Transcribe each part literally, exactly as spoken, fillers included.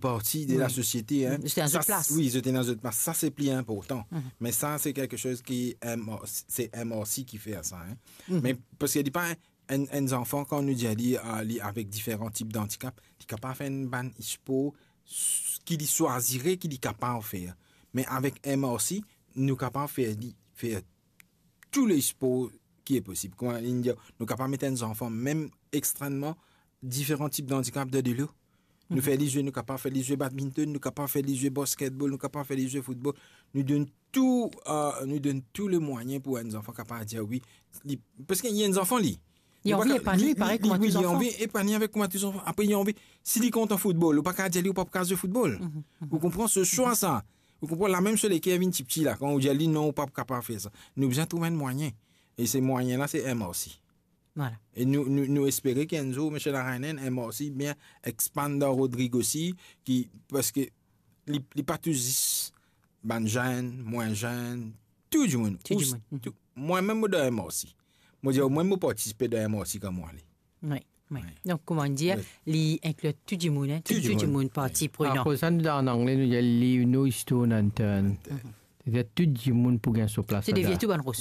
parti de la sosiete, hein. Zot ena zot plas. Wi, zot ena zot plas. Sa, se pli inportan. Me sa, se kelke soz ki M R C, se M R C ki fer sa, hein. Me paski li pa enn, enn zanfan, kan nou dir li, ah, li avek diferan tip dandikap, li kapav fer enn bann spor s-, ki li swazire, ki li kapav fer. Me avek M R C, nou kapav fer li, fer tou le spor ki e posib. Kouma li dir, nou kapav met enn zanfan, mem extrememan diferan tip dandikap dan dilo. Nou fer li zwe, nou kapav fer li zwe badminton, nou kapav fer li zwe basketball, nou kapav fer li zwe football. Nou donn tou, euh, nou donn tou le mwayin pou enn zanfan kapav dir wi. Li, paski li enn zanfan, li. Li anvi epanoui, parey kouma tou zanfan. Wi, li anvi epanoui avek kouma tou zanfan. Apre, li anvi, si li kontan football, ou pa kapav dir li ou pa kapav zwe football. Ou konpran se swa sa. Ou konpran, lamem so leker vinn tipti la, kan ou dir li non, ou pa kapav fer sa. Nou bizin trouv enn mwayin. E se mwayin la, se M R C. Vwala. E nou, nou, nou espere ki enn zour, Misie Larainen, M R C bien expand dan Rodrig osi, ki, paski li, li pa tou zis bann zenn, mwin zenn, tou dimoun. Tou dimoun. Tou, mwa mem mo dan M R C. Mo dir, omwin mo partisipe dan M R C kan mo ale. Wi, wi. Donk, kouma dir, li inkli tou dimoun, hein, tou, tou dimoun parti prenan. Akoz sa, nou, an angle, nou dir leave no stone unturned. Setadir tou dimoun pou gagn so plas ladan. Tou bann ros.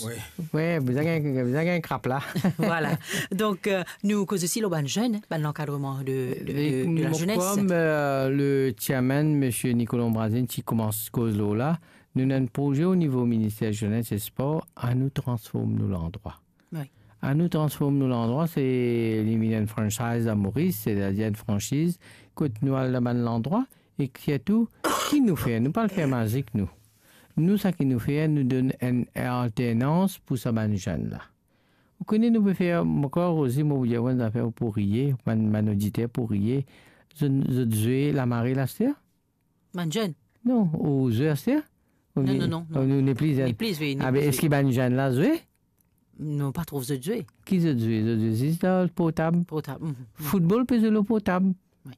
Wi, bizin gagn, bizin gagn krap la. Vwala. Donk, euh, nou koz osi lor bann zenn, hein, bann lankadreman de, de, de, de la zenes. Kom, euh, le chairman, Misie Nicolas Ombrazine, ti koumans koz lor la, nou ena enn proze o nivo Minister Zenes e Spor, anou transform nou landrwa. Wi. Anou transform nou landrwa, se li vinn enn franchise a Moris, setadir enn franchiz, kot nou al dan bann landrwa, e sirtou, ki nou fer? Nou pa al fer mazik, nou. Nou, sa ki nou fer, nou donn enn alternans pou sa bann zenn la. Ou kone nou pe fer, mo krwar osi, mo pou dir enn zafer pou riye, bann, bann oditer pou riye, zot, zot zwe lamare laster? Bann zenn? Non, ou zwe aster? Non, non, non, non. Ou nepli zenn? Nepli, wi, nepli. Ah ben, eski bann zenn la zwe? Non, pa trouv zot zwe. Ki zot zwe? Zot zwe zis dan portab. Portab, mhm. Football pe zwe lor portab. Wi.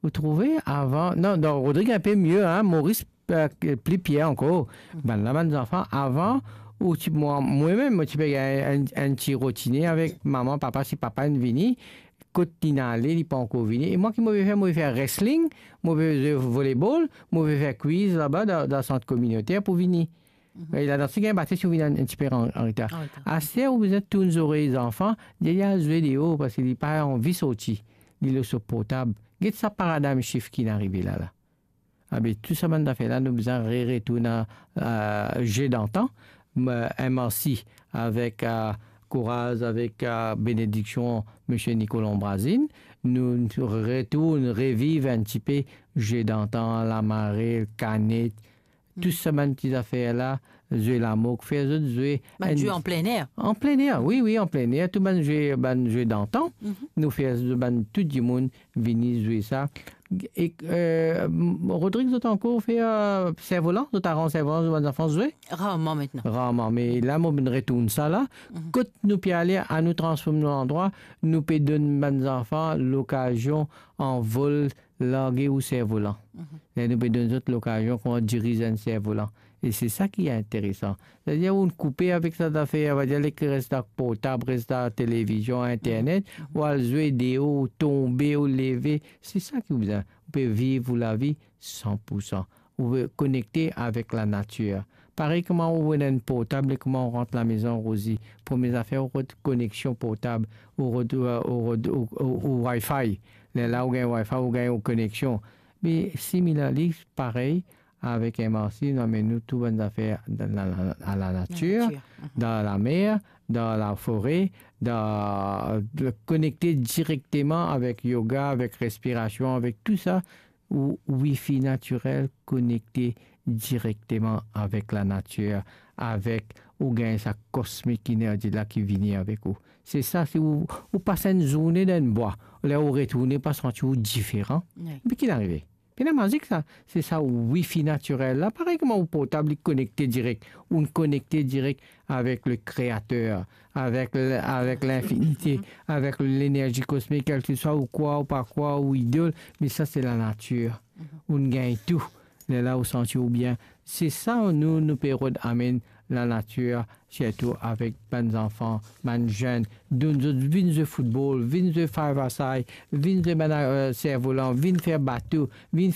Ou trouve, avan, non, dan Rodrig inpe mie, hein, Moris, euh, pli pir ankor. Mhm. Bann la, bann zanfan, avan, ou ti, mwa, mwa mem, mo ti pe gagn enn, enn ti rotine avek mama, papa, si papa inn vini, kot li'nn ale, li pa ankor vini. E mwa, ki mo pe fer? Mo pe fer wrestling, mo pe zwe volleyball, mo pe fer quiz laba dan, dan sant kominoter pou vini. Mhm. E ladan, si gagn bate, si ou vinn enn, enn tipe an, an retar. An retar. Aster, ou bizin tourn zorey zanfan, dir li al zwe deor, paski li pa anvi sorti, li lor so portab. Get sa paradigm shift ki'nn arive la, la. Ah ben, tou sa bann zafer la, nou bizin re-, retourn a, a jeu d'antan. M-, M R C avek, a, kouraz, avek, a, benediksion Misie Nicolas Ombrazine, nou, nou retourn reviv enn tipe jeu d'antan, lamare, kanet, tou sa bann ti zafer la, zwe lamok, fer zot zwe. Bann zwe an plein air? An plein air, wi, wi, an plein air, tou bann zwe, bann zwe d'antan, nou fer zot, bann tou dimoun vini zwe sa. E, euh, m-, Rodrig, zot ankor fer, euh, servolan, zot aranz servolan, zot bann zanfan zwe? Rarman aster. Rarman, me la, mo vinn retourn sa la. Mhm. Kot nou pe ale, anou transform nou landrwa, nou pe donn bann zanfan lokazion anvol, large ou servolan. Mhm. E nou pe donn zot lokazion kouma diriz enn servolan. E se sa ki interesan. Setadir, ou koupe avek sa zafer, on va dir, les ki res dan portab, res dan televizion, internet, mhm, ou al zwe deor, ou tonbe, ou leve. Se sa ki ou bizin. Ou pe viv ou lavi san pou san. Ou pe konekte avek lanatir. Parey kouma ou rod enn portab, e kouma ou rant lamezon, Rosie, premie zafer, ou rod koneksion portab, ou rod, ou, ou rod, ou, ou, ou Wi-Fi. Lerla ou gagn Wi-Fi, ou gagn ou koneksion. Me similarly, parey avek M R C, nou amenn nou tou bann zafer dan la, la, a lanatir, lanatir, mhm, dan lamer, dan lafore, dan, konekte direkteman avek yoga, avek respirasion, avek tou sa, ou wifi natirel, konekte direkteman avek lanatir, avek ou gagn sa cosmic energy la ki vini avek ou. Se sa, si ou, ou pas enn zourne dan enn bwa, ler ou retourne, ou pa santi ou diferan. Wi. Me ki arive? Pena mazik sa. Se sa wifi natirel la. Parey kouma ou portab, li konekte direk. Ou konekte direk avek le Kreater, avek le, avek linfinite, avek lenerzi kosmik, kelseswa ou krwar ou pa krwar, ou idol, me sa se lanatir. Mhm. Ou gagn tou. Lerla ou santi ou bien. Se sa nou, nou pe rod amenn lanatir, sirtou avek bann zanfan, bann zenn, donn zot vinn zwe football, vinn zwe five-a-side, vinn zwe bann, euh, servolan, vinn fer bato, vinn